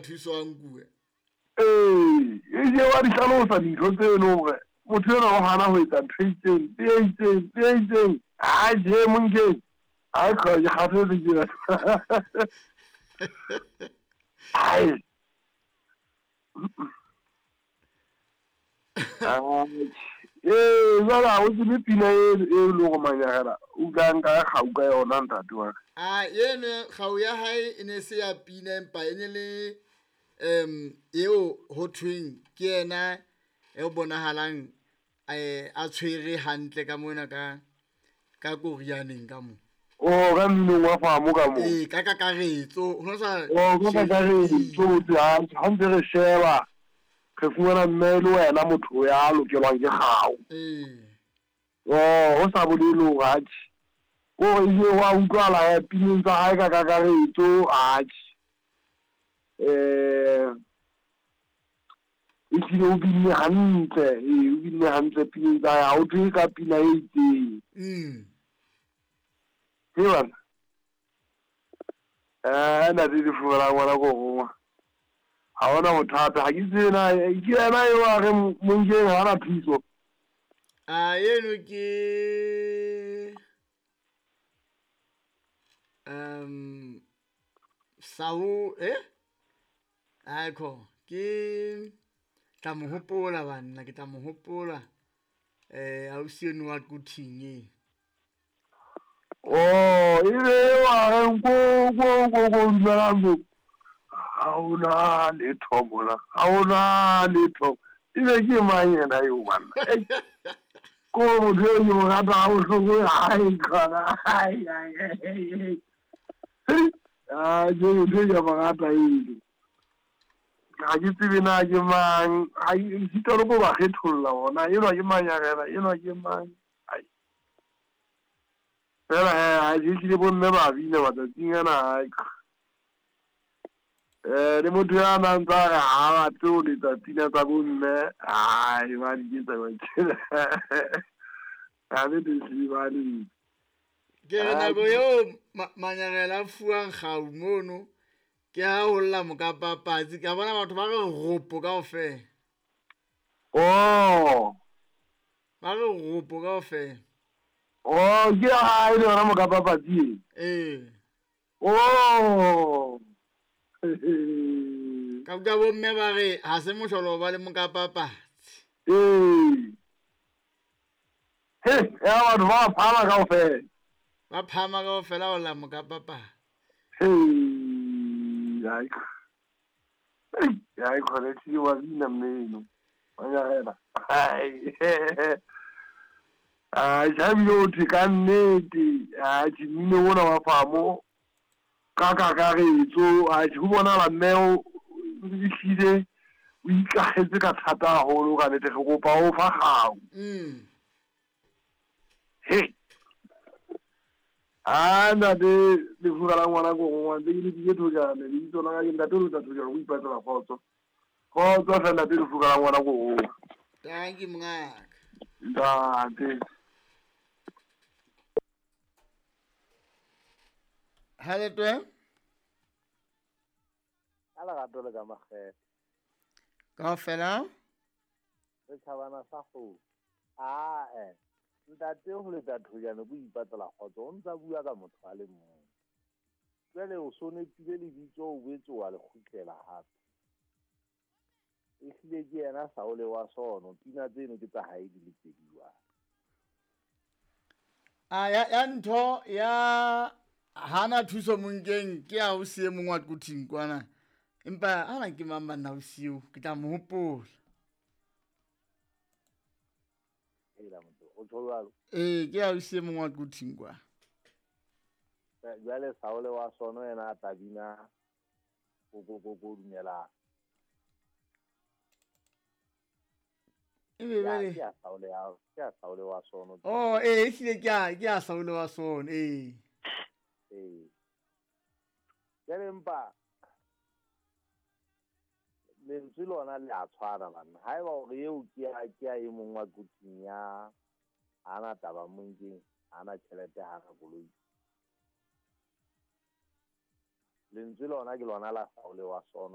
thuso a nkuwe. Ee, e je wa di hlalosa dintho tse leng hore motho enwa o hana ho etsa ntho e itseng le e itseng le e itseng. A je Monkeng. Ai kga ke kgathetse ke. Ai. Ee, jwale ha o tsebe pina e e leng hore Manyagela o ka nka kgau ka yona ntate wa ka. A eno kgau ya hae e ne se ya pina empa e ne le eo ho thweng ke yena e bonahalang a tshwere hantle ka mona ka korianeng ka mo. Oh, ka mminong wa famo ka mo. Ee, ka kakaretso. Ho sa Oh, ka kakaretso ha ntse re sheba re fumana mme le wena motho ya lokelwang ke kgau. Ee. Oh, ho sa bolele hore atjhe. Kore ebile wa utlwahala ya pineng tsa hae ka kakaretso atjhe. Ehlile o binne hantle, ee o binne hantle pineng tsa hae, ha ho thwe ka pina e itseng. Ke bana. Ntate Lefubelang ngwana ko rongwa. Ha hona bothata, ha ke tsebe na ke yena eo a reng Monkeng ha ana thuso. A eno ke Sao Aiko ke tla mo hopola banna, ke tla mo hopola ausi eno wa Quthing e. Oh, e be wa reng ko ko ko ko dumelang mo. Ha hona letho mona, ha hona letho. E be ke mang yena eo banna? Ko motho eo ke mo rata ha bohloko, ai khona. Ai ai ai. Ah, ke motho eo ke mo rata eno. Ha ke tsebe na ke mang, ha sitwa le ko ba kgetholla bona, enwa ke Manyagela, enwa ke mang. Ai. Fela he, ha ke hlile bomme ba bina matsatsing ana, ai. Le motho ya nang tsa re ha batle ho letsa pina tsa bomme, ai ba di ketsa ba tjena. Ha le hlile ba letsa. Ke re nako eo Manyagela a fuwang kgau mono, ke ha ho lla mokapapatsi, ka bona batho ba re ropo kaofela. Oh. Ba re ropo kaofela. Oh, ke ha e le yona mokapapatsi e? Ee. Oh. Ka utlwa bomme ba re ha se mohlolo ba le mokapapatsi. Ee. He, ya batho ba phama kaofela. Ba phama kaofela ho lla mokapapatsi. Hey, ai. Ai, khona ke wa bina mmeno. Manyagela. Ai. Ai, tjhabile o thwe ka nnete. Ai, mmino ona wa famo ka kakaretso, ai ho bonahala mme o ehlile o ikahetse ka thata haholo ka nnete, re kopa o fa kgau. He. Ah, ntate Lefuka la ngwana ko rongwa, ntse ke lebile Thojane, lebitso la ka ke ntate o letsa Thojane, o ipatlela kgotso. Kgotso hle ntate Lefuka la ngwana ko rongwa. Thank you mongaka. Ntate. Ha le twe? Ka lerato le ka makgethe. Kaofela? Re tjhabana sa kgomo. Ae, ntate ho letsa Thojane ko ipatlela kgotso, o ntsa bua ka motho a le mong. Jwale o so nepile lebitso, o boetse wa le kgutlela hape. Ehlile ke yena Saole wa sono, pina tseno ke tsa hae di le pedi jwale. A ya ntho ya hana thuso Monkeng ke ya ausi e mong wa Quthing kwana. Empa hana ke mang banna ausi eo, ke tla mo hopola. O tjho jwalo? Ee, ke ausi e mong wa Quthing kwa. Jwale Saole wa sono yena a tla bina ko dumelang. E be jwale. Ke a Saole ya, ke a Saole wa sono. Oh, ee, ehlile ke a Saole wa sono, ee. Ee. Jwale empa lentswe lona le a tshwana banna. Haeba hore eo ke ya e mong wa Quthing ya hana taba Monkeng, hana tjhelete, hana koloi. Lentswe lona ke lona la Saole wa sono.